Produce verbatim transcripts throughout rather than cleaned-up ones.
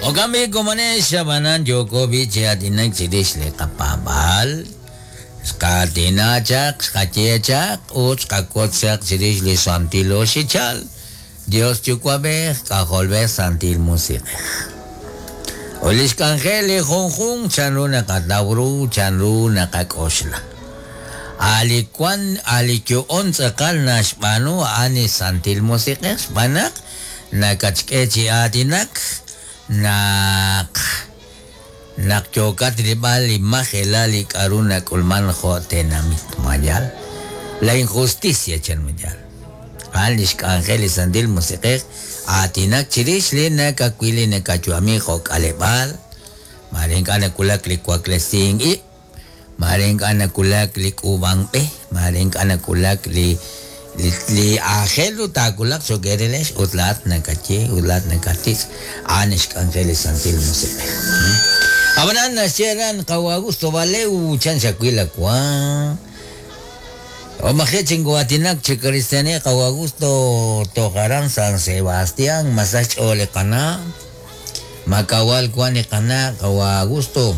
Okambi komanex abanan yoko biche atinak chirix li qapaab'aal xqaatina chaq xqaye chaq ut xqakot chaq chirix li santil oxichal Dios yuwa'b'ej k'ajolb'ej santil musiq'ej. Ut li xk'anjel li junjunq chanru naqataw ru chanru naqak'oxla. Ali wan ali yu'on tz'aqal naxb'aanu a'an li santil musiq'ej xb'aan naq nakatxk'e chi aatinak naq naq yookat rilb'al li majelal li k'a'ru nak'ulman jo' tenamit mayal la injusticia chan mayal a'an li xk'anjel li santil musiq'ej aatinak chirix li nakawil li nakayu'ami jo' k'aleb'aal mare ink'a' nakulak li waklesink ib' mare ink'a' nakulak li k'uub'ank b'e mare ink'a' nakulak li li li aajel ru taakulaq cho'q erelex ut laa'at nakaye ut laa'at nakatitz' a'an xk'anjel li santil musiq'ej. Ab'anan naxye aran qawa Augusto Valeu chan xawil awan o maje chinkuatinak chi cristiani qawa Augusto tojaran San Sebastián masach ch'ool li qana' makawal wan li qana' qawa Augusto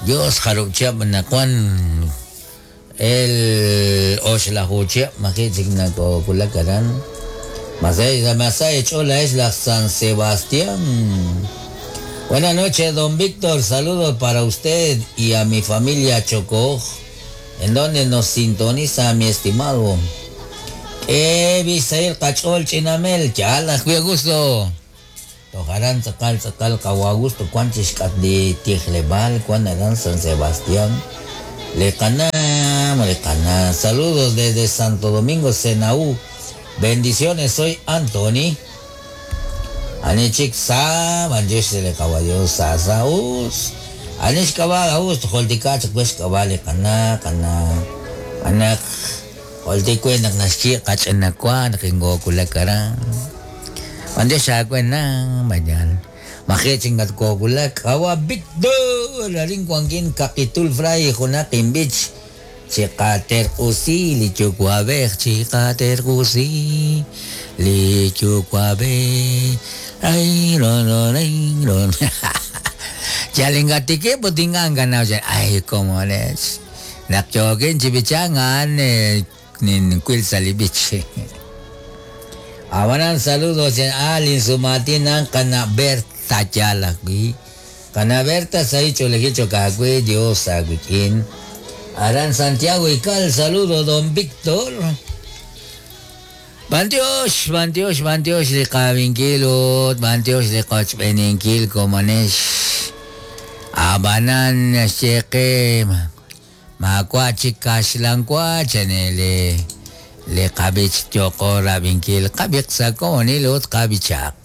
Dios jarub' chihab' nawan el oxlaju chihab' maji chik nakokulak aran masay masay ch'ool es la San Sebastián. Buenas noches, don Víctor, saludos para usted y a mi familia Chocó, en donde nos sintoniza mi estimado. Eh, Bisail Cachol Chinamel, yala, gusto. Tojaran tzakal tzakal kawa gusto cuanchis kat di Tijlebal, cuan aran San Sebastián. Le cana, le cana. Saludos desde Santo Domingo, Senaú. Bendiciones, soy Anthony. Anichik sa, mandish le kawayo sa sa us. Anish kawa us, holtika chak kawa le kana kana anak holtikwe nak naski kach anakwa nakingo kulakara. Mandish akwe na mayan. Makichingat ko kulak kawa Victor arin kwangkin kakitul fray hunakin beach. Chikater usi li chukwabej chikater usi li chukwabej ay ron ron ay ron. Chalingatike putingan ganao ay como les nakchokin chibichangan eh nin kwil salibich. Abanan saludos en Alin Sumatina kana Berta Yalakwi kana Berta saicho lejicho kakwi Dios agwikin. Aran Santiago y Cal, saludo don Víctor. Bantiosh, bantiosh, bantiosh li qabinkilut, bantiosh li qochb'eninkil komonex. Abanan xeqe makwa chikaxlankwa chanele le qabich yoqo rabinkil qabiq sakonil ut qabichaq.